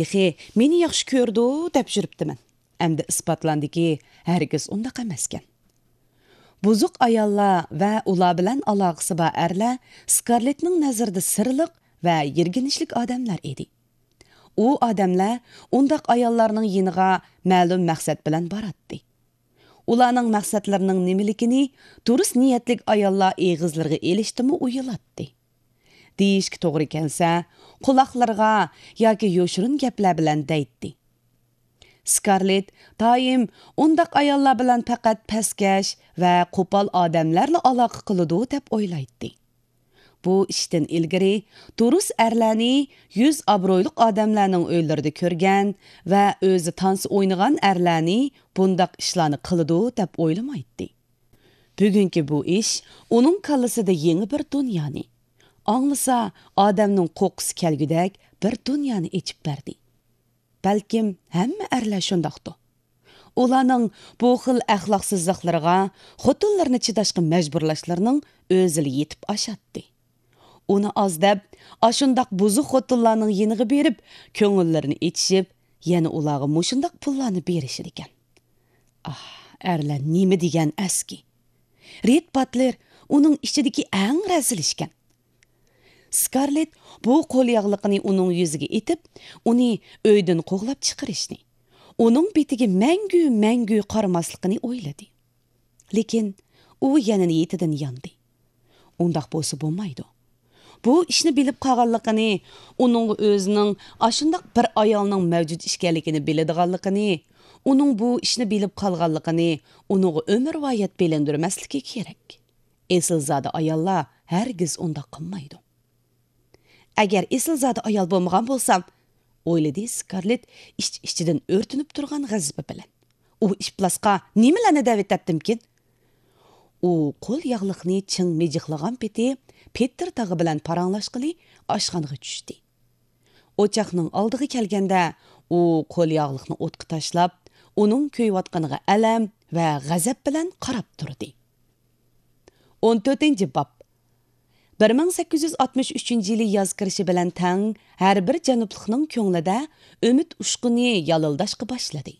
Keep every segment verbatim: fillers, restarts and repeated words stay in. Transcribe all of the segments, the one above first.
تېخى مېنى ياخشى كۆرىدۇ دەپ يۈرۈپتىمەن. ئەمدى ئىسپاتلاندىكى، ھەرگىز ئۇنداق ئەمەسكەن. بۇزۇق ئاياللار ۋە ئۇلار بىلەن ئالاقىسى بار ئەرلەر سكارلېتنىڭ نەزىرىدە سىرلىق ۋە يىرگىنچلىك ئادەملەر ئىدى. ئۇ ئادەملەر ئۇنداق ئاياللارنىڭ يېنىغا مەلۇم مەقسەت بىلەن باراتتى. ئۇلارنىڭ مەقسەتلىرىنىڭ نېمىلىكىنى دۇرۇس نىيەتلىك ئاياللار ئېغىزلىرىغا ئېلىشتىمۇ ئويۇلاتتى. دېيىشكە توغرا كەلسە، قۇلاقلىرىغا ياكى يوشۇرۇن گەپلەر بىلەن دەيتتى. سكارلېت دائىم ئۇنداق ئاياللار بىلەن پەقەت پەسكەش ۋە قوپال ئادەملەرلا ئالاقە قىلىدۇ دەپ ئويلايتتى. بۇ ئىشتىن ئىلگىرى دۇرۇس ئەرلەرنى يۈز ئابرۇيلۇق ئادەملەرنىڭ ئۆيلىرىدە كۆرگەن ۋە ئۆزى تانسا ئوينىغان ئەرلەرنى بۇنداق ئىشلارنى قىلىدۇ دەپ ئويلىمايتتى. بۈگۈنكى بۇ ئىش ئۇنىڭ كاللىسىدا يېڭى بىر دۇنيانى، ئاڭلىسا ئادەمنىڭ قورققۇسى كەلگۈدەك بىر دۇنيانى ئېچىپ بەردى. بەلكىم ھەممە ئەرلەر شۇنداقتۇ. ئۇلارنىڭ بۇ خىل ئەخلاقسىزلىقلىرىغا، خوتۇنلىرىنى چىداشقا مەجبۇرلاشلىرىنىڭ ئۆزىلا يېتىپ ئاشاتتى. ئۇنى ئاز دەپ، ئاشۇنداق بۇزۇق خوتۇنلارنىڭ يېنىغا بېرىپ، كۆڭۈللىرىنى ئېچىشىپ، يەنە ئۇلارغا مۇشۇنداق پۇللارنى بېرىشىدىكەن. ئاھ، ئەرلەر نېمە دېگەن ئەسكى! رېد باتلېر ئۇنىڭ ئىچىدىكى ئەڭ رەزىل ئىشكەن. سكارلېت بۇ قول ياغلىقىنى ئۇنىڭ يۈزىگە ئېتىپ، ئۇنى ئۆيدىن قوغلاپ چىقىرىشنى، ئۇنىڭ بېتىگە مەڭگۈ، مەڭگۈ قارىماسلىقىنى ئويلىدى. لېكىن ئۇ يەنە نىيىتىدىن ياندى. ئۇنداق بولسا بولمايدۇ. بۇ ئىشنى بىلىپ قالغانلىقىنى، ئۇنىڭغا ئۆزىنىڭ ئاشۇنداق بىر ئايالنىڭ مەۋجۇت ئىكەنلىكىنى بىلىدىغانلىقىنى، ئۇنىڭ بۇ ئىشنى بىلىپ قالغانلىقىنى ئۇنىڭغا ئۆمۈرۋايەت بىلىندۈرمەسلىكى كېرەك. ئېسىلزادە ئاياللار ھەرگىز ئۇنداق قىلمايدۇ. ئەگەر ئېسىلزادە ئايال بولمىغان بولسام، ئويلىدى سكارلېت ئىچ-ئىچىدىن ئۆرتىنىپ تۇرغان غەزىپى بىلەن. ئۇ ئىپلاسقا نېمىلەرنى دەۋېتەتتىمكىن؟ ئۇ قول ياغلىقنى چىڭ مىجىقلىغان پېتى پېتىر تاغا بىلەن پاراڭلاشقىلى ئاشخانىغا چۈشتى. ئوچاقنىڭ ئالدىغا كەلگەندە، ئۇ قول ياغلىقنى ئوتقا تاشلاپ، ئۇنىڭ كۆيۈۋاتقىنىغا ئەلەم ۋە غەزەپ بىلەن قاراپ تۇردى. ئون تۆتىنچى باب. بىر مىڭ سەككىز يۈز ئاتمىش ئۈچىنچى يىلى ياز كىرىشى بىلەن تەڭ ھەر بىر جەنۇبلۇقنىڭ كۆڭلىدە ئۈمىد ئۇچقۇنى يالىلداشقا باشلىدى.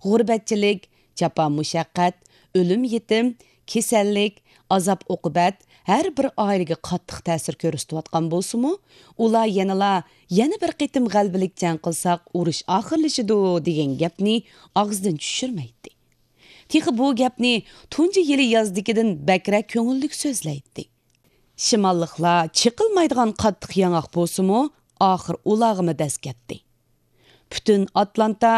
غۇربەتچىلىك، جاپا-مۇشەققەت، ئۆلۈم-يېتىم، كېسەللىك، ئازاب-ئوقۇبەت ھەر بىر ئائىلىگە قاتتىق تەسىر كۆرسىتىۋاتقان بولسىمۇ، ئۇلار يەنىلا «يەنە بىر قېتىم غەلىبىلىك جەڭ قىلساق، ئۇرۇش ئاخىرلىشىدۇ» دېگەن گەپنى ئاغزىدىن چۈشۈرمەيتتى. تېخى بۇ گەپنى تۇنجى يىلى يازدىكىدىن بەكرەك كۆڭۈللۈك سۆزلەيتتى. شىماللىقلار چېقىلمايدىغان قاتتىق ياڭاق بولسىمۇ، ئاخىر ئۇلارغىمۇ دەز كەتتى. پۈتۈن ئاتلانتا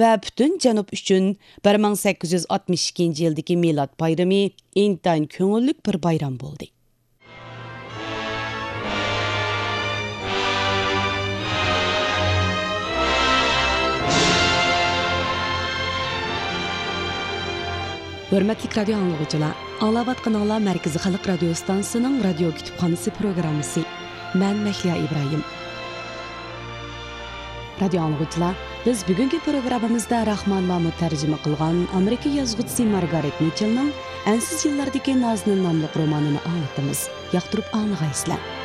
ۋە پۈتۈن جەنۇب ئۈچۈن بىر مىڭ سەككىز يۈز ئاتمىش ئىككىنچى يىلدىكى مىلاد بايرىمى ئىنتايىن كۆڭۈللۈك بىر بايرام بولدى. ھۆرمەتلىك رادىيو ئاڭلىغۇچىلار، ئاڭلاۋاتقىنىڭلار مەركىزىي خەلق رادىيو ستانسىسىنىڭ رادىيو كۇتۇپخانىسى پروگراممىسى. مەن مەھلىيا ئىبراھىم. رادىيو ئاڭلىغۇچىلار، بىز بۈگۈنكى پروگراممىمىزدا راخمان مامۇت تەرجىمە قىلغان ئامېرىكا يازغۇچىسى مارگارېت مىچېلنىڭ ئەنسىز يىللاردىكى نازىنىن ناملىق رومانىنى ئاڭلىتىمىز. ياقتۇرۇپ ئاڭلىغايسىلەر.